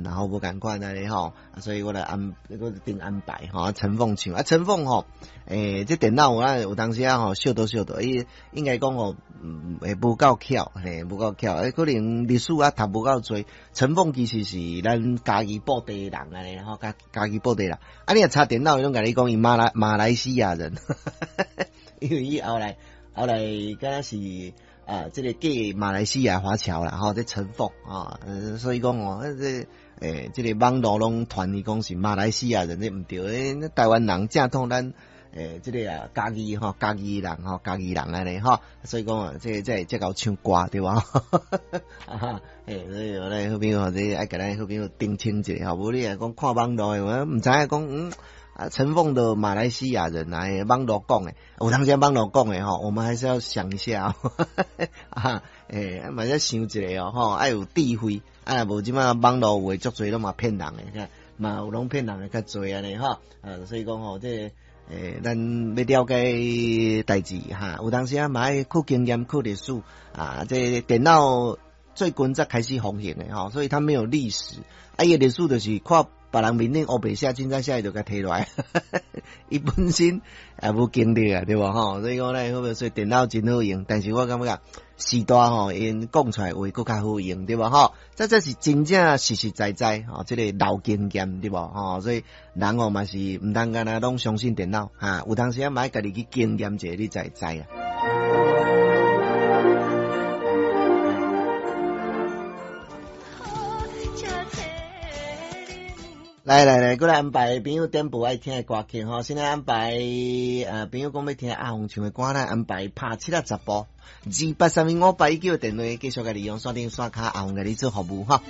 然後無仝款按呢吼，所以我來安，我定安排吼。陳鳳唱啊，陳鳳吼，這電腦我有當時啊吼，小倒小倒，伊應該講吼，會無夠巧，嘿，無夠巧，可能歷史啊讀無夠濟。陳鳳其實是咱嘉義布袋人按呢吼，嘉義布袋人。啊，你若查電腦，伊攏共你講伊馬來西亞人，因為伊後來敢若是啊，這個嫁馬來西亞華僑啦，吼，這陳鳳啊，所以講哦，這這個網路攏傳伊講是馬來西亞人，這毋對，台灣人正統咱這個啊，嘉義吼，嘉義人吼，嘉義人按呢吼，所以講啊，這會曉唱歌對無？啊，所以我咧好朋友這愛共咱好朋友澄清一下吼，無你若講看網路的，我毋知影講啊，陳鳳的馬來西亞人啊，網路講的，有當時網路講的吼，我們還是要想一下啊，嘛要想一下哦，吼，愛有智慧，啊，無這馬網路有的足濟攏嘛騙人的，嘛有攏騙人的較濟按呢吼，啊，所以講吼，這個咱欲了解代誌哈，有當時啊嘛愛靠經驗、靠歷史啊，這電腦最近才開始風行的吼，所以它沒有歷史，啊，伊的歷史就是看別人面頂烏白寫，凊彩寫伊就共提落來，伊本身也無經歷啊，對無吼？所以講咧，好所以電腦真好用，但是我感覺時代吼，𪜶講出來話閣較好用，對無吼？這是真正實實在在吼，這個老經驗，對無吼？所以人哦嘛是毋通干焦攏相信電腦，哈，有當時啊嘛愛家己去經驗者，你才會知啊。來來來，閣來安排朋友點播愛聽的歌曲吼，先來安排朋友講欲聽阿鳳唱的歌，來安排拍七仔十步，28315819的電話繼續共你用線頂線跤阿鳳共你做服務哈。